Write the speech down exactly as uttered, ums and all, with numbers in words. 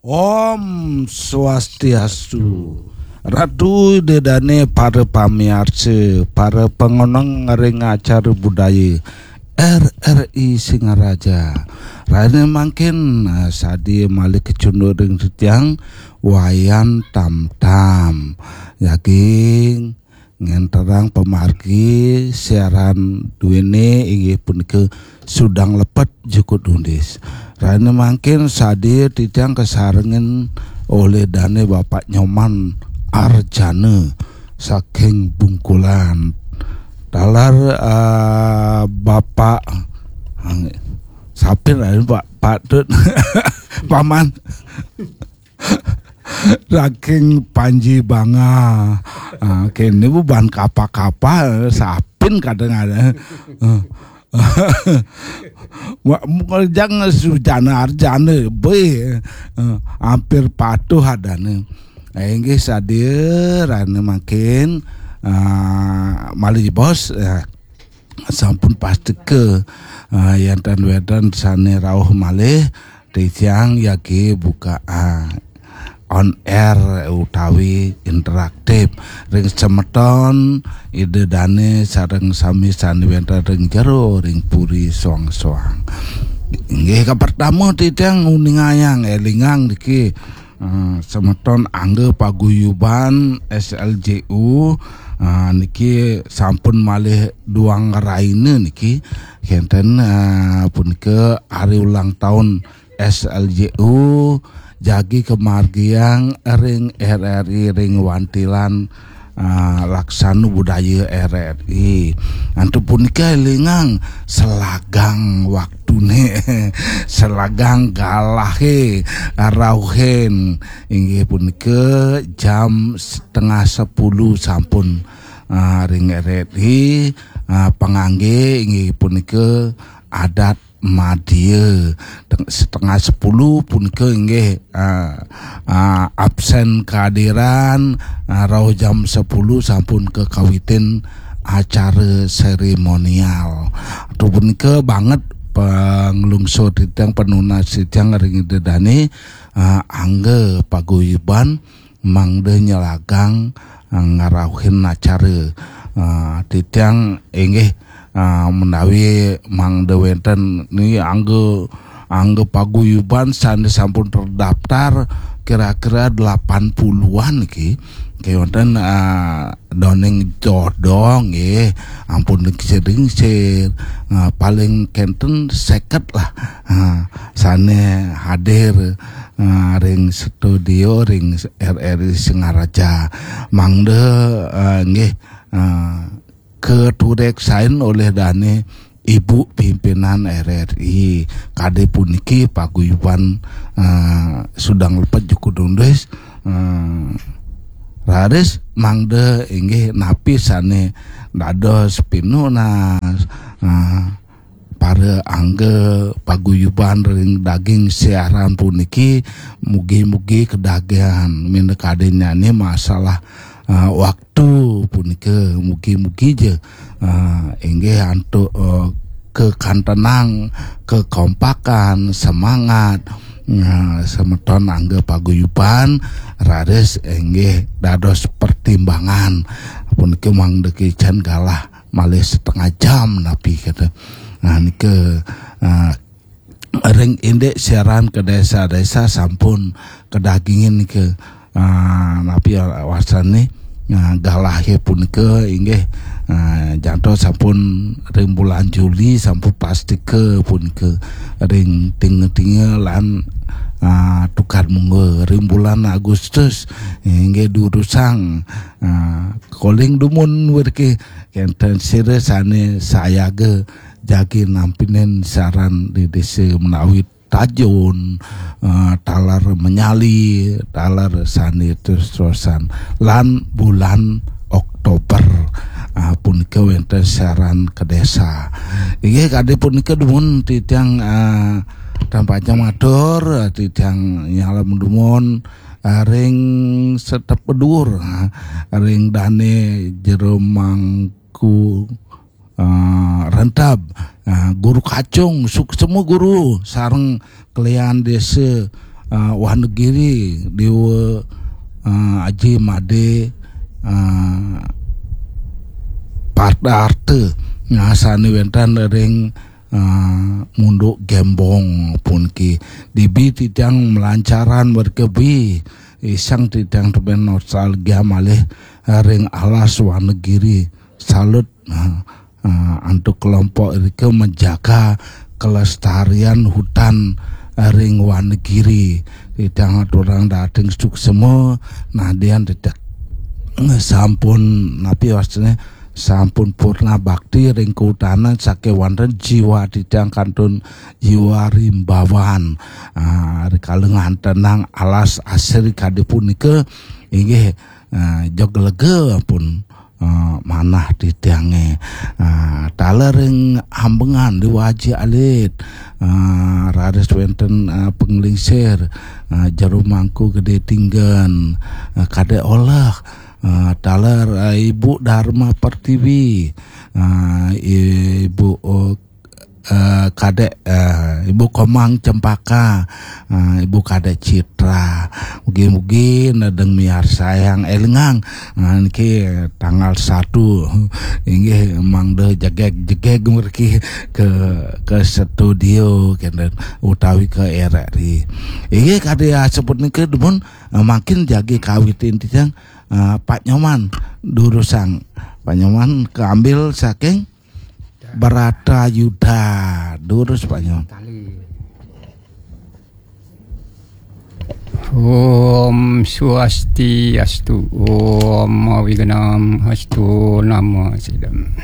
Om Swastiastu. Ratu Ida Dane, para pamiarsa, para pangoneng ring acara budaya R R I Singaraja. Rahina mangkin, eh, sadia malih kacunduk ring titiang Wayan Tamtam. Jagi ngenterang pamargi siaran duene inggih punika Sudang Lepet Jukut Undis. Rahina mangkin sadia titiang kasarengin olih dane Bapak Nyoman Arjana saking Bungkulan. Taler, ah, Bapak, ah, sapin rahina Pak Patut Paman saking Panji Banga. Ah, kene bu ban kapa-kapa, sapin kadang ada. Ah. Wa-, jang Sujana Arjana, be. Ah, hampir patuh adane. Eh, inggih sadia rahina mangkin, ah, malih bos, ah, sampun pastika, ah, enten wenten sane rauh malih, titiang jagi buka, ah, on air utawi interaktif ring semeton Ida Dane sareng sami sane wenten ring jero ring puri soang-soang. Inggih, kapertama titiang nguningayang, elingang niki, eh, semeton angga paguyuban S L J U, eh, niki sampun malih duang raina niki, kenten, eh, punika hari ulang tahun S L J U jagi kamargiang ring R R I ring wantilan, ah, laksana budaya R R I. Antuk punika elingang selagang waktune, selagang galahe, rauhin inggih punika jam setengah sepuluh sampun, ah, ring R R I, ah, pangangge inggih punika adat madya. Teng-, setengah sepuluh punika inggih, ah, ah, absen kehadiran, ah, rauh jam sepuluh sampun kakawitin acara seremonial. Atu punika banget panglungsur titiang, panunas titiang ring Ida Dane, ah, angga paguyuban mangda nyelagang, ah, ngarauhin acara. Ah, titiang inggih, ah, menawi mangda wenten ni angga, angga paguyuban sane sampun terdaftar kira-kira delapan puluhan niki. Kewenten, ah, doning jodoh nggih, ampun lingsir-lingsir. Ah, paling kenten seket lah. Ah, sane hadir, ah, ring studio ring R R I Singaraja. Mangda, ah, nggih, ah, katureksain olih dane Ibu Pimpinan R R I. Kadi puniki paguyuban, ah, Sudang Lepet Jukut Undis, ah, raris mangda inggih napi sane dados pinunas, ah, para angga paguyuban ring daging siaran puniki, mugi-mugi kadagihan minakadinnyane masalah, ah, waktu punika, mugi-mugi ja, ah, inggih antuk, eh, kekantenang, kekompakan, semangat, ah, semeton angga paguyuban raris inggih dados pertimbangan. Puniki mangda kicen galah malih setengah jam napi kata. Nah, nika, ah, ring indik siaran ka desa-desa sampun kadagingin nika, ah, napi wasane, ah, galahe punika inggih, ah, jantos sampun ring bulan Juli sampun pastika punika ring tinga-tinga lan, ah, tukad mungga ring bulan Agustus inggih durusang, ah, koling dumun wirke kenten sira sane sayaga jagi nampinin siaran di desa menawi Tajun, eh, taler Menyali, taler sane terus-terusan lan bulan Oktober, eh, punika wenten siaran ka desa. Inggih kadi punika dumun titiang, eh, tan pacang matur, eh, titiang nyalem dumun, eh, ring Setep Bedur, eh, ring dane Jero Mangku, eh, Rentab, eh, Guru Kacung, suksema Guru, sareng kelian desa, uh, Wonogiri, Dewa, uh, Aji Made, uh, Parta Arta, nah, sane wenten ring, uh, Munduk Gembong puniki. Dibi titiang melancaran berkebi, isang titiang teben nostalgia malih, uh, ring alas Wonogiri. Salut, uh, uh, antuk kelompok irika menjaga kelestarian hutan, uh, ring Wonogiri. Titiang aturang dahating suksema, nadian titiang sampun, napi wastane, sampun purna bakti ring kahutanan sakewanten jiwa titiang kantun jiwa rimbawan. Ah, rikala ngantenang alas asri kadi punika, inggih, ah, jeg lega pun, ah, manah titiange. Ah, taler ring ambengan Dewa Aji Alit, ah, raris wenten, ah, Panglingsir, ah, Jero Mangku Gede Tinggen, ah, Kadek Oleh, ah, taler, ah, Ibu Dharma Pertiwi, ah, Ibu, oh, eh, Kadek, eh, Ibu Komang Cempaka, eh, Ibu Kadek Citra. Mugi-mugi nedeng miarsayang, elingang, eh, niki tanggal satu. Inggih mangda jegeg-jegeg mriki ke, ke studio kenten utawi ke R R I. Inggih kadi asebut niki dumun, eh, mangkin jagi kawitin titiang, eh, Pak Nyoman durusang. Pak Nyoman keambil saking Bratayuda. Durus, Pak Nyoman. Kali. Om Swastiastu, Om Awignam Astu Nama Sidam.